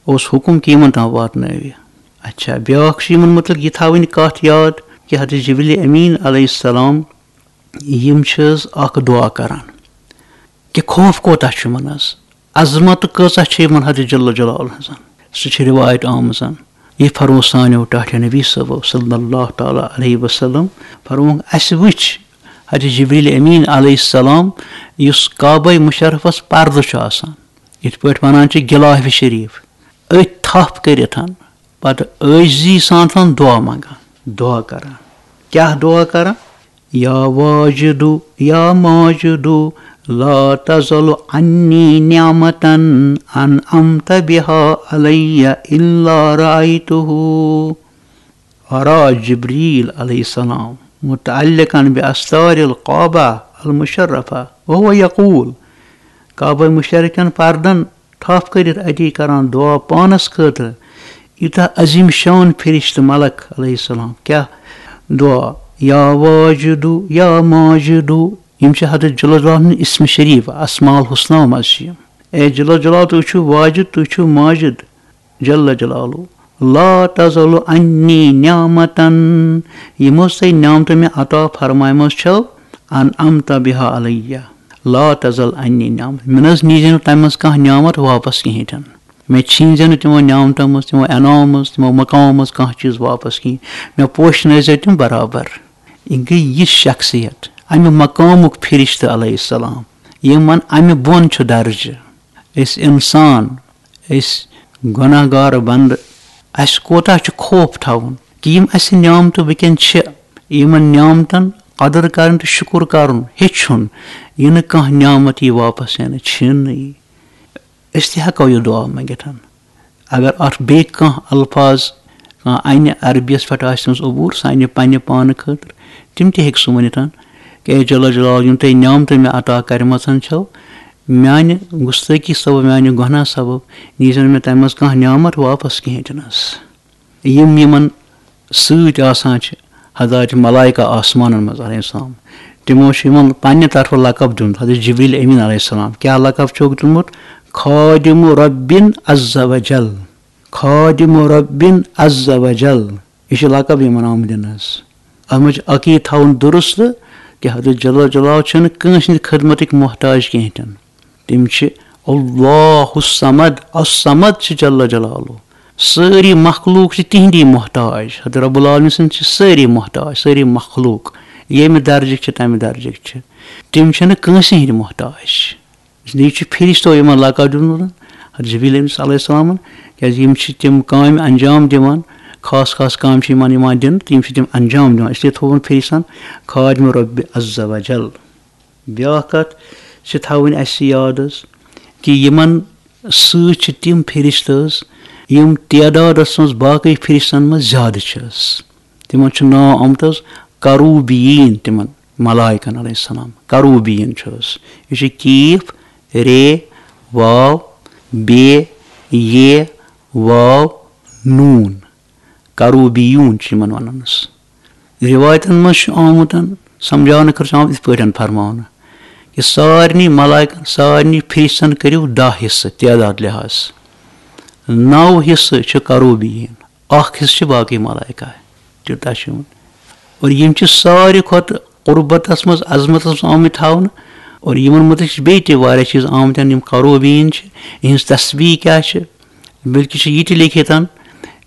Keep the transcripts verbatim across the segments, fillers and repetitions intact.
اوس حکم کہِ یِمن تام واتنٲوِ۔ اچھا، بیٛاکھ چھُ یِمن مُتعلق یہِ تھاوٕنۍ کَتھ یاد کہِ حضرت جبریل امین علیہ السلام یِم چھِ حظ اکھ دعا کران کہِ خوف کوتاہ چھُ یِمن حظ، عظمت کۭژاہ چھِ یِمن حضرت جل جلالہ ہٕنٛز۔ سُہ چھِ رِوایت آمٕژ۔ یہِ فرموو سانیو ٹاٹھیو نبی صٲبو صلی اللہ تعالیٰ علیہ وسلم، فرمووُکھ، اَسہِ وٕچھ حضرت جبریل امین علیہ السلام یُس کعبہ مشرفس پردٕ چھُ آسان، یِتھ پٲٹھۍ وَنان چھِ غلاف شریف، أتھۍ تھپھ کٔرِتھ، پتہٕ عٲجزی سان تھاوان دعا منٛگان، دعا کران۔ کیٛاہ دعا کران؟ یا واجد یا ماجد، لا تزل عنی نعمة انعمت بها علی الا رأیتہ۔ ورا جبریل علیہ السلام متعلقا باستار الکعبہ المشرفہ وہو یقول، کعبہ مشرف کٮ۪ن پردن تھپھ کٔرِتھ اتی کران دعا پانس خٲطرٕ۔ یوٗتاہ عظیم شان فرشتہٕ ملک علیہ السلام۔ کیٛاہ دعا؟ یا واجدو یا ماجدو۔ یِم چھِ حضرت جل جلالہ ہُنٛد اسم شریف، اسماء الحسنیٰ منٛز چھِ یِم۔ اے جل جلال، تُہۍ چھِو واجد، تُہۍ چھِو ماجد، جل جلالہ۔ لا تزل عنی نعمتن۔ یِم حظ تۄہہِ نعمتہٕ مےٚ عطا فرمایمژ چھو، انعمت بها علیہ، لا تزل عنی نعمت۔ مےٚ نہ حظ نیٖزِ نہٕ تَمہِ منٛز کانٛہہ نعمت واپس کِہیٖنۍ تہِ نہٕ۔ مےٚ چھیٖنزِ نہٕ تِمو نعمتو منٛز، تِمو انعامو منٛز، تِمو مقامو منٛز کانٛہہ چیٖز واپس کِہیٖنۍ۔ مےٚ پوشنٲیزِ تِم برابر۔ یہِ گٔے یہِ شخصیت، اَمہِ مقامُک فرشتہٕ علیہ السلام، یِمن اَمہِ بۄن چھُ درجہٕ۔ أسۍ اِنسان، أسۍ گۄناہ گار بندٕ، اَسہِ کوتاہ چھُ خوف تھاوُن کہِ یِم اَسہِ نعمتہٕ وٕنکیٚن چھِ، یِمن نعمتن قدر کرٕنۍ تہٕ شُکُر کرُن ہیٚچھُن، یہِ نہٕ کانٛہہ نعمت یی واپس ہٮ۪نہٕ، چھِنہٕ یی۔ أسۍ تہِ ہٮ۪کو یہِ دعا منٛگِتھ۔ اگر اَتھ بیٚیہِ کانٛہہ الفاظ کانٛہہ اَنہِ عربیَس پٮ۪ٹھ آسہِ تٔمِس عبوٗر، سُہ اَنہِ پنٛنہِ پانہٕ خٲطرٕ، تِم تہِ ہیٚکہِ سُہ ؤنِتھ کہِ اے جل جلال، یِم تۄہہِ نعمتہٕ مےٚ عطا کَرِمَژَن چھَو، میٛانہِ گُستٲخی سبب، میٛانہِ گۄناہ سبب نیٖزیو نہٕ مےٚ تَمہِ منٛز کانٛہہ نعمت واپَس کِہیٖنۍ تہِ نہٕ حظ۔ یِم یِمَن سۭتۍ آسان چھِ، حضرات ملائکہ آسمانَن منٛز علیہ السلام، تِمو چھُ یِمَن پنٛنہِ طرفہٕ لقب دیُمُت، حضرت جبریل امین علیہ السلام۔ کیٛاہ لقب چھُکھ دیُمُت؟ خادم ربن عز و جل۔ خادم ربن عز و جل۔ یہِ چھُ لقب یِمَن آمُت دِنہٕ حظ۔ اَتھ منٛز چھُ عقیٖدٕ تھاوُن درست کہِ حضرت جل جلال چھُنہٕ کٲنٛسہِ ہٕنٛدِ خدمتٕکۍ محتاج کِہیٖنۍ تہِ نہٕ۔ تِم چھِ اللہ الصمد، الصمد چھِ جل جلالہ۔ سٲری مخلوق چھِ تِہِنٛدی محتاج۔ حضرت رب العالمین سٕنٛدۍ چھِ سٲری محتاج، سٲری مخلوق۔ ییٚمہِ درجٕکۍ چھِ، تَمہِ درجٕکۍ چھِ۔ تِم چھِنہٕ کٲنٛسہِ ہٕنٛدۍ محتاج۔ اس لیے چھُ فرشتو یِمن لقب دیُتمُت حضرت جبریل أمِس علیہ السلامن، کیازِ یِم چھِ تِم کامہِ انجام دِوان، خاص خاص کامہِ چھِ یِمن یِوان دِنہٕ، تہٕ یِم چھِ تِم انجام دِوان۔ اس لیے تھوٚوُن فرشتن خادم رب عز و جل۔ بیٛاکھ کتھ چھِ تھاوٕنۍ اَسہِ یاد حظ کہِ یِمن سۭتۍ چھِ تِم فرشتہٕ حظ، یِم تعدادس منٛز باقٕے فرشتن منٛز زیادٕ چھِ حظ۔ تِمن چھُ ناو آمُت حظ کروبیٖن، تِمن ملائکن علیہ السلام۔ کروبیٖن چھُ حظ، یہِ چھُ کیف، رے، واو، بے، یے، واو، نون۔ کروبیون چھُ یِمن ونان حظ۔ رِوایتن منٛز چھُ آمُت، سمجھاونہٕ خٲطرٕ چھُ آمُت یِتھ پٲٹھۍ فرماونہٕ کہِ سارنٕے ملائکن، سارنٕے فرشتن کٔرِو دَہ حصہٕ تعداد لحاظ۔ نَو حصہٕ چھِ کروبیٖن، اکھ حصہٕ چھِ باقٕے ملائکہ۔ تیوٗتاہ چھُ یِمن۔ اور یِم چھِ ساروی کھۄتہٕ قربتس منٛز، عظمتس منٛز آمٕتۍ تھاونہٕ۔ اور یِمن مُتعلق چھِ بیٚیہِ تہِ واریاہ چیٖز آمٕتۍ، یِم کروبیٖن چھِ، یِہنٛز تسبیح کیٛاہ چھِ، بلکہِ چھِ یہِ تہِ لیکھِتھ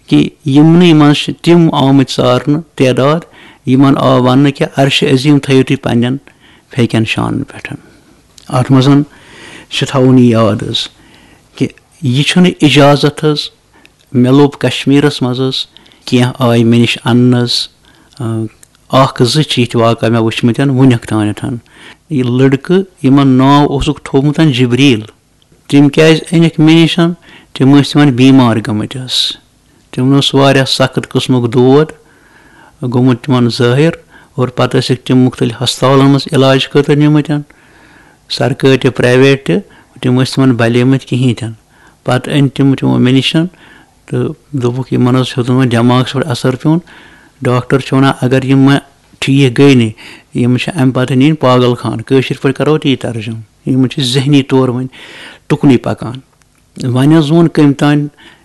کہِ یِمنٕے منٛز چھِ تِم آمٕتۍ ژارنہٕ تعداد، یِمن آو وننہٕ کہِ عرشِ عظیٖم تھٲیِو تُہۍ پننٮ۪ن پھیکٮ۪ن شانن پٮ۪ٹھ۔ اتھ منٛز چھِ تھاوُن یہِ یاد حظ کہِ یہِ چھُنہٕ اجازت حظ، مےٚ لوٚب کشمیرس منٛز حظ، کینٛہہ آیہِ مےٚ نِش اننہٕ حظ، اکھ زٕ چھِ یِتھۍ واقعہ مےٚ وٕچھمٕتۍ وُنیُک تانٮ۪تھ۔ یہِ لڑکہٕ یِمن ناو اوسُکھ تھوٚومُت جبریل، تِم کیٛازِ أنِکھ مےٚ نِش؟ تِم ٲسۍ تِمن بیمار گٔمٕتۍ حظ۔ تِمن اوس واریاہ سخت قٕسمُک دود گوٚمُت تِمن ظٲہِر، اور پتہٕ ٲسِکھ تِم مُختٔلِف ہسپتالن منٛز علاج خٲطرٕ نِمٕتۍ، سرکٲرۍ تہِ، پرٛایویٹ تہِ، تِم ٲسۍ تِمن بلیمٕتۍ کِہیٖنۍ تہِ نہٕ۔ پتہٕ أنۍ تِم تِمو مےٚ نِش تہٕ دوٚپُکھ، یِمن حظ ہیوٚتُن وۄنۍ دٮ۪ماغس پٮ۪ٹھ اثر پیوٚن۔ ڈاکٹر چھُ ونان، اگر یِم وۄنۍ ٹھیٖک گٔے نہٕ، یِم چھِ امہِ پتہٕ نِنۍ پاگل خانہٕ، کٲشِر پٲٹھۍ کرو تی ترجمہٕ۔ یِم چھِ ذہنی طور وۄنۍ ٹُکنُے پکان۔ وۄنۍ حظ ووٚن کٔمۍ تام،